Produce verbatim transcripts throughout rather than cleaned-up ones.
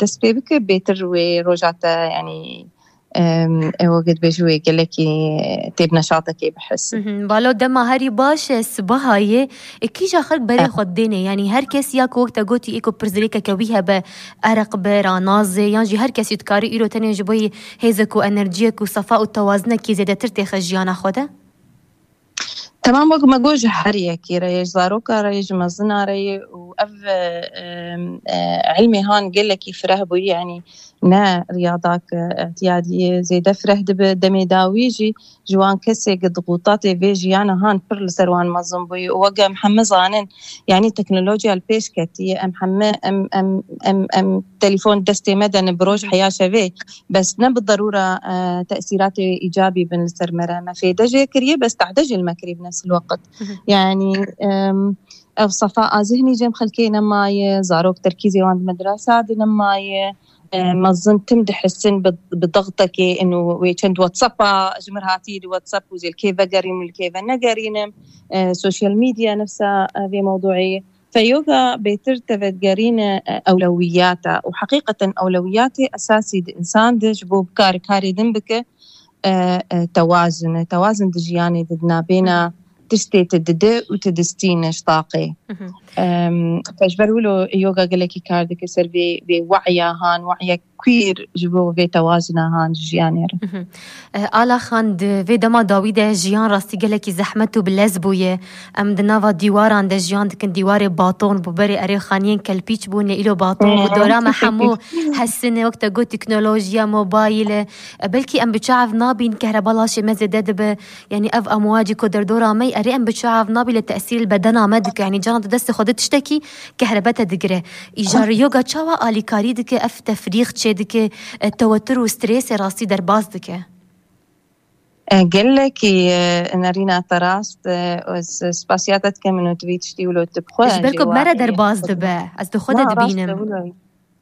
dest pê bike, bêtir wê roja te, yanî, em, ew wekî dibêjin wê gelekî tê bi neşatekê bihis. Mhm. Balo, dema herî baş e, sibaha yê, e, kîja xelk berê xwe dêne? Yanî her kes ya ku wek te gotî ê ku pirsgirêkeke wî hebe, ereq be, ranazê, yan jî her kesî dikarî îro tenê ji bo yî hêzek û enerjiyek û sefa û tewazinekî zêdetir têxe jiyana xwe de? Temam, wek me got, ji her yekî re ye, ji zaroka re ye, ji mezina re ye û ev, e, e, ilmê han gelekî fireh bûyî, yanî ne riyadak, e, îtiyadiyê zêde fireh dibe, demê dawî jî ji wan kesê ku di qutatê vê jiyana han pir li ser wan mezin bûyî û wek em heme zanin, yanî teknolojiya li pêş ketiye, em heme, em, em, em, em telefon destê me de ne bi roj heya şevê, bes ne bi derûra, e, tesîratê îcabî bin li ser me re. Me fêde jê kiriye, bes tehde jî li me kiriye bi nefs el-weqt. Mhm. Yanî, em, ev sefa a zihnî cem xelkê nemaye, zarok terkîzê wan di medrasa de nemaye, e, mezin tim dihisin bi, bi dextekê, inu wê çend WhatsApp-a ji mir hatî, di WhatsApp û zê li kê vegerînim, li kê venegerînim, e, social media nefsa, e, vê mewduî. Fe yoga bêtir tevegerîne, e, ewlewiyata û heqîqeten ewlewiyatê esasî di insan de ji bo bikare karê din bike, e, e, tewazin e. Tewazin di jiyanê de di nabêna Hı hı. tiştê tu dide û tu distîne ji taqê. Hı hı. Em, fe ji ber wilo yoga gelekî kar dike ser vê, vê wa'ya han, wa'ya queer ji bo vê tewazina han ji jiyanê re. Mhm. Eh, Ala Xan, di vê dema dawî de jiyan rastî gelekî zehmet û bi lez bûye. Em di nava dîwaran de jiyan dikin, dîwarê baton bû, berê erê xaniyên kelpîç bûn, lê îlo baton bû. Dora me hemû hesine, wek te got, teknolojiya, mobayîl e. E, belkî em bi çav nabîn, kehreba laşê me zêde dibe. Yanî ev amwacî ku derdora me, erê em bi çav nabî, lê tesîr li bedena me dike. Yanî caran tu destê xwe de tiştekî kehrebe te digire. Îjar yoga çawa alîkarî dike, ev tefrîx çêdike, e, tewetir û strêsê rastî derbas dike? E, gelekî, e, nerîna te rast, e, ez spasiya te dikim, min û tu vî tiştî wilo tu bi xwe Ji ber ku me re derbas dibe, ez di xwe de dibînim.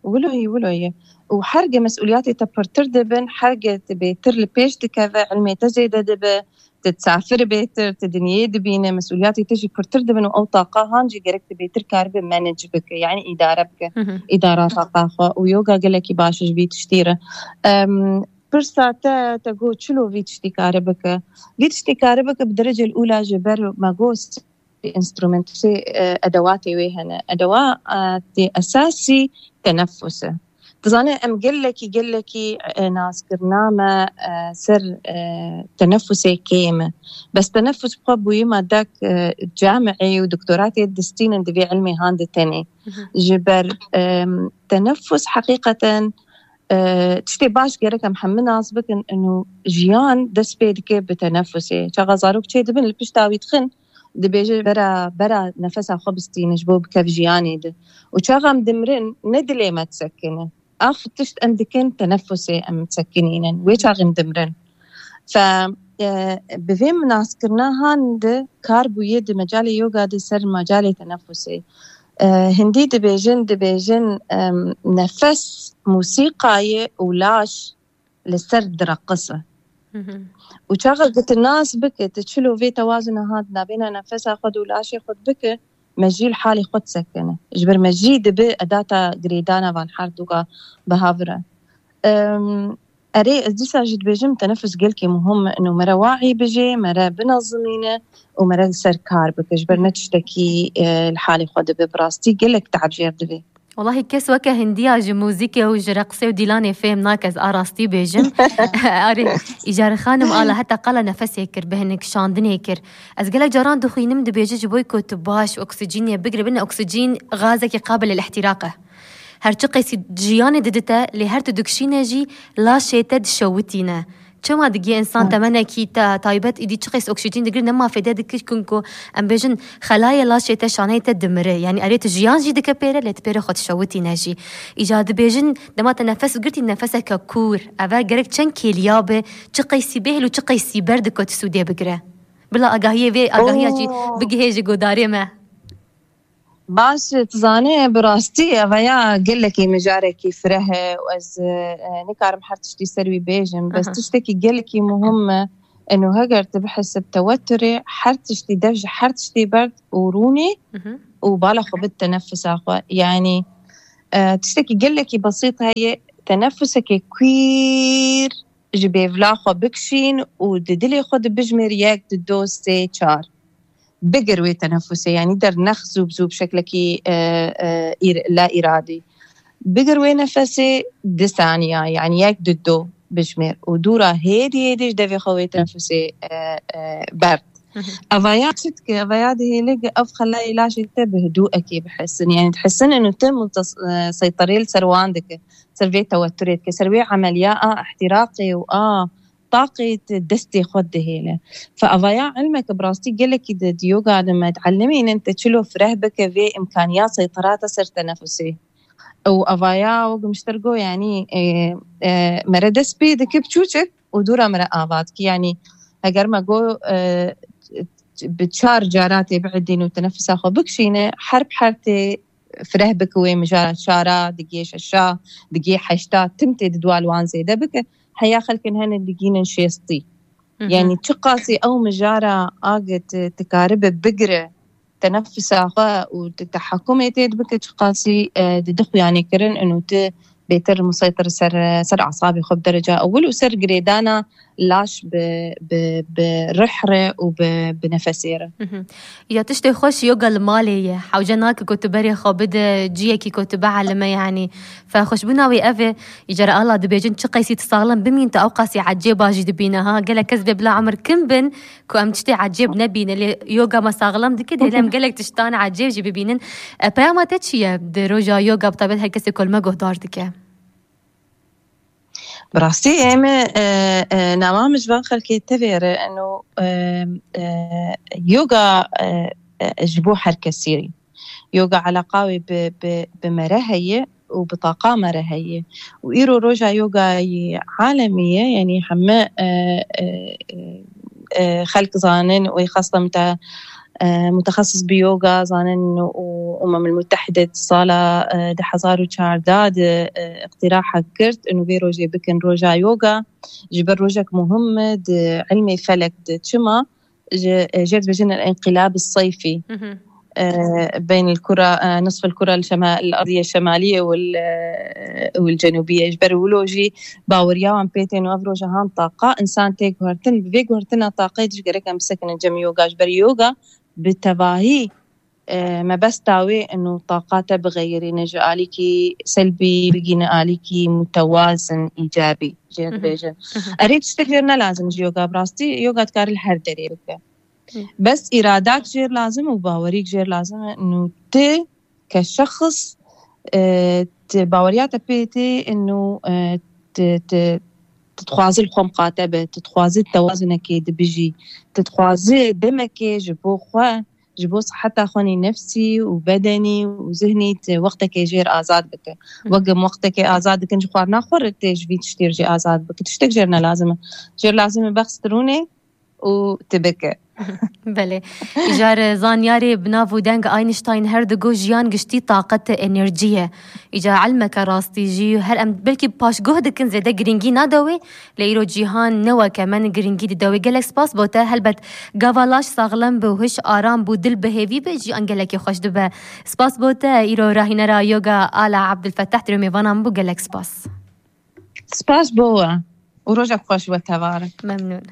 Wilo ye, wilo ye. Û herge mesûliyatê te pirtir dibin, herge tu bêtir li pêş dikeve, ilmê te zêde dibe, tu disafir bêtir, tu dinyê dibîne, mesûliyatê te jî pirtir dibin û ew taqa han jî gerek tu bêtir karibe manage bike, yanî îdare bike, Hı hı. îdara taqa xwe. Û yoga gelekî baş e ji vî tiştî re. Em, pirsa te, te got çilo vî tiştî kare bike. Vî tiştî kare bike bi derecel ûla ji ber me got enstrûmentê, e, edewatê wê hene. Edewatê esasî tenefus e. Dizane em gelekî, gelekî, e, naskirina me, e, ser, e, tenefusê kêm e. Bes tenefus bi xwe bûyî madek, e, camiî û doktoratê distînin di vê ilmê han de tenê. Hı hı. Ji ber, e, tenefus heqîqeten, e, tiştê baş gerek em hemû nas bikin, inu jiyan dest pê dike bi tenefusê. Çaxa zarok çê dibin, li pişta wî dixin, dibêje bera, bera nefesa xwe bistîne ji bo bikev jiyanê de. Û çaxa em dimirin, ne dilê me disekine. Ax tişt em dikin, tenefusê em disekinînin. Wê çaxê em dimirin. Fe, e, bi vê naskirina han de kar bûye di mecalê yoga de ser mecalê tenefusê. E, hindî dibêjin, dibêjin, em, nefes musîqa ye û laş li ser direqise. Hı hı. Û çaxa ku tu nas bike, tu çilo vê tewazuna hat nabêna nefesa xwe de û laşê xwe bike, me jî li halê xwe disekine. Ji ber me jî dibe edata girêdana van her duka bi hev re. Em, erê, ez dîsa jî dibêjim, tenefus gelkî muhim e, û me re wa'î bijê, me re binezimîne û me re li ser kar bike. Ji ber ne tiştekî, e, li halê xwe dibe, bi rastî gelek teeb jêr divê. Welahi kes weke hindiya ji muzîkê û ji reqsê û dîlanê fêm nake, ez a rastî bêjim. Arê, Îcar xanim, ala heta qala nefesê kir, bi hinek şandinê kir. Ez gelek caran dixwînim, dibêje ji bo ku tu baş oksijînê bigire, bine oksijîn gazekî qabil el ihtiraq e. Her çi qeysî jiyanê didite, lê her tu dikişîne jî laşê te dişewitîne. Çima digiye însan Hı. temenekî te taybet îdî çi qeys oksîjîn digir, nema fêde dikir, kunku em bêjin xelayê laşê te, şaneyê te dimire. Yanî erê tu jiyan jî dike pêre, lê tu pêre xwe dişewitîne jî. Îca dibêjin dema te nefes girtî, nefeseke kûr. Eve gerek çend kêliya be, çi qeysî bêhil û çi qeysî ber dike tu sûdê bigire. Bila agahiyê vê, agahiya jî Oo. bigihê ji godarê me. Baş, tu zanî, bi rastî eveya gelekî mijarekî fireh e û ez, e, nikarim her tiştî ser wî bêjim. Bes Aha. tiştekî gelekî muhim e, eno heger tu bihesib teweturê, her tiştî dev ji her tiştî berd û rûnî Mhm. û bala xwe bid tenefisa xwe. Yanî, E, tiştekî gelekî besît heye, tenefusekê kwîr ji bêvla xwe bikişîn û di dilê xwe de bijmêr yek, di do, sê, çar. Bigir wê tenefusê, yanî dernex zû bi zû bi şeklekî, e, e, îr-, la îradî. Bigir wê nefesê di saniya, yanî yek, di do bijmêr û dûra hêdî hêdî ji devê xwe wê tenefusê, e, e, berd. Hı hı. Evaya çi dike? Evaya dihêle ki ev xelayê laşê te bi hidûekê bihesin. Yanî dihesin inu te mutas-, e, seyterê li ser wan dike. Ser vê teweturê dike. Ser wê emeliya a ihtiraqê û a taqê te destê xwe dihêle. Fe evaya ilmeke bi rastî gelekî di, di yoga de me dielimînin te çilo fireh bike vê imkaniya seyterata ser tenefusê. Û evaya wek min ji te re got, yanî, e, e, mere dest pê dike bi çûçik û dûra mere ava dike. Yanî heger me got, e, bi çar cara tê biedîn û tenefisa xwe bikişîne, her bi her tê fireh bike wê mijara çara, digê şeşa, digê heşta, tim tê di dua li wan zêde bike. Heya xelkin hene digînin şêstî. Hı hı. Yanî çiqasî ew mijara agit dikaribe bigire tenefisa xwe û di tehekumê tê dibike, çiqasî, e, di dixuyanê kirin û tu bêtir museytir ser, ser asabê xwe bi dereca ewil û ser girêdana laş bi, bi, bi rih re û bi, bi nefesê re. Mhm. Ya tiştê xweş yoga li malê ye. Hewce nake ku tu berê xwe bide ciyekî ku tu bielime, yanî fe xweşbûna wê ev e. Îcara ala dibêjin çi qeysî tu saxlem bimîn, tu ew qasî ecêba jî dibîne ha. Gelek kes bê bila emir kim bin, ku em tiştê ecêb nebîne, lê yoga me saxlem dike, dê em gelek tiştan ecêb jî bibînin. E, peyama te çi ye di roja yoga, bi taybet her kesê ku li me guhdar dike? Bi rastî em, e, e, nama min ji van xelkê tevê re eno, e, e, yoga, e, e, ji bo her kesî. Yoga eleqa wê bi, bi, bi mere heye û bi taqa mere heye. Û îro roja yogayê alemî ye, yanî heme, e, e, e, e, xelk zanin û xasta mute-, e, mutexesis bi yoga zanin û Umem Mutehide di sala, e, du hezar û çardeh de, e, iqtiraha girt û vê rojê bikin roja yoga. Ji ber rojek muhim e di ilmê felek de. Çima? Ji, e, jê dibêjin el-inqilab el-seyfî. Mhm. E, beyn el-kura, e, nisf el-kura el-şema-, el-ardiye el-şemaliye û el-, e, û el-cenubiye. Ji ber wilo jî baweriya wan pê tên û ev roja han taqa, insan tê guhertin, bi vê guhertina taqê ji gerek em bisekinin cem yoga. Ji ber yoga bi tevahî, e, mebesta wê inu taqa te bixeyirîne ji alîkî selbî bigîne alîkî mutewazin, îcabî. Jê Mhm. dibêjin. Mhm. Erê tiştek jêr ne lazim ji yoga bi rastî. Yoga dikare li her derê bike. Hı. Bes îradak jêr lazim û bawerîk jêr lazim e. Nû ti ke şexs, e, ti baweriya te pê tê, nû, e, ti, ti, ti dixwazi li xwe miqate be, ti dixwazi tewazinekê dibijî, ti dixwazi demekê ji bo xwe, ji bo siheta xwe nî nefsî û bedenî û zihnî ti wextekê jêr azad bike. Hı. Wek em wextekê azad dikin ji xwarina xwe re tê ji vî tiştê jê azad bike. Tiştek jêr ne lazim e. Jêr lazim e bex strûnê û tu bike. Belê. Îcar zanyarê bi nav û deng Einstein her digo jiyan giştî taqet e, enerjî ye. Îcar ilmeke rastî jî her em belkî paşguh dikin zêde girîngî nade wê, lê îro cîhan ne weke me girîngî dide wê. Gelek spas bo te. Helbet gava laş saxlem bi û hiş aram bû, dil bi hêvî be, jiyan gelekî xweş dibe. Spas bo te. Îro rahînera yoga Ala Abdulfetah diro mêvana min bû. Gelek spas. Spas bo we û rojek xweş we tevare. Memnûn.